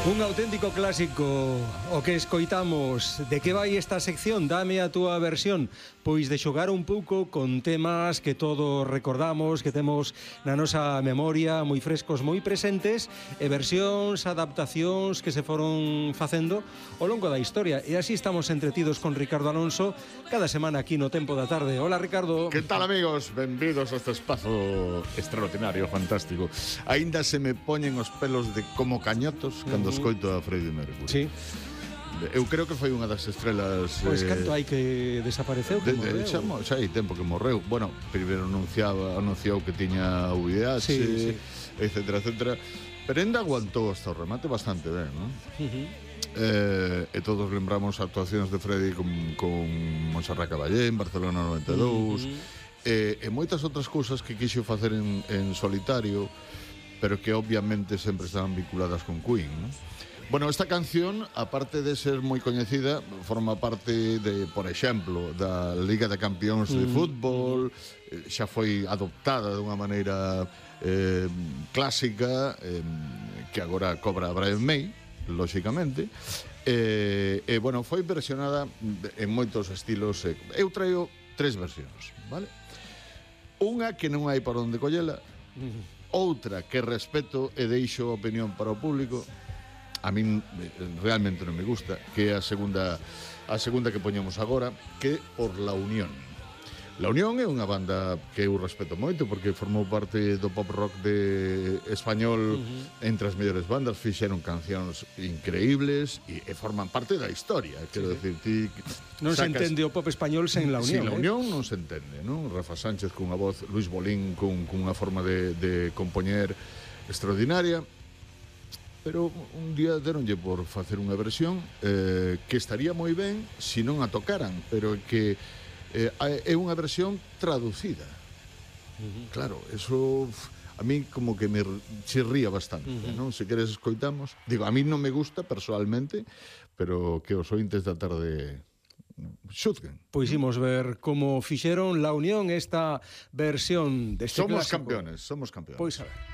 Un auténtico clásico o que escoitamos. De que vai esta sección? Dame a túa versión. Pois de xogar un pouco con temas que todos recordamos, que temos na nosa memoria moi frescos, moi presentes, e versións, adaptacións que se foron facendo ao longo da historia. E así estamos entretidos con Ricardo Alonso cada semana aquí no Tempo da Tarde. Hola, Ricardo. Que tal, amigos? Benvidos a este espazo extraordinario, fantástico. Ainda se me poñen os pelos de como cañotos cando escoito a Freddie Mercury. Sí. Eu creo que foi unha das estrelas... Pois canto hai que desapareceu, que morreu? Xa hai tempo que morreu. Bueno, primeiro anunciou que tiña VIH, sí. Etcétera, etcétera. Pero ainda aguantou hasta o remate bastante ben, non? E todos lembramos actuacións de Freddie con Montserrat Caballé en Barcelona 92, e moitas outras cousas que quixo facer en solitario, pero que obviamente sempre estaban vinculadas con Queen, non? Bueno, esta canción, aparte de ser moi coñecida, forma parte de, por exemplo, da Liga de Campións de fútbol, xa foi adoptada de unha maneira clásica, que agora cobra Brian May, lóxicamente, e bueno, foi versionada en moitos estilos. Eu traio 3 versións, vale? Unha que non hai por onde collela, outra que respeto e deixo opinión para o público. A min realmente non me gusta, que é a segunda que poñemos agora, que por La Unión. La Unión é unha banda que eu respeto moito porque formou parte do pop rock de español entre as mellores bandas, fixeron cancións increíbles e forman parte da historia, quero decir, ti non se entende o pop español sen La Unión. Sin La Unión non se entende, non? Rafa Sánchez cunha voz, Luis Bolín cunha forma de compoñer extraordinaria. Pero un día deronlle por facer unha versión que estaría moi ben se non a tocaran, pero que é unha versión traducida. Claro, eso a mí como que me chirría bastante, non? Se queres escoitamos. Digo, a mí non me gusta personalmente, pero que os ointes da tarde xuzguen. Pois imos ver como fixeron La Unión esta versión deste clásico. Somos campeones. Pois a ver.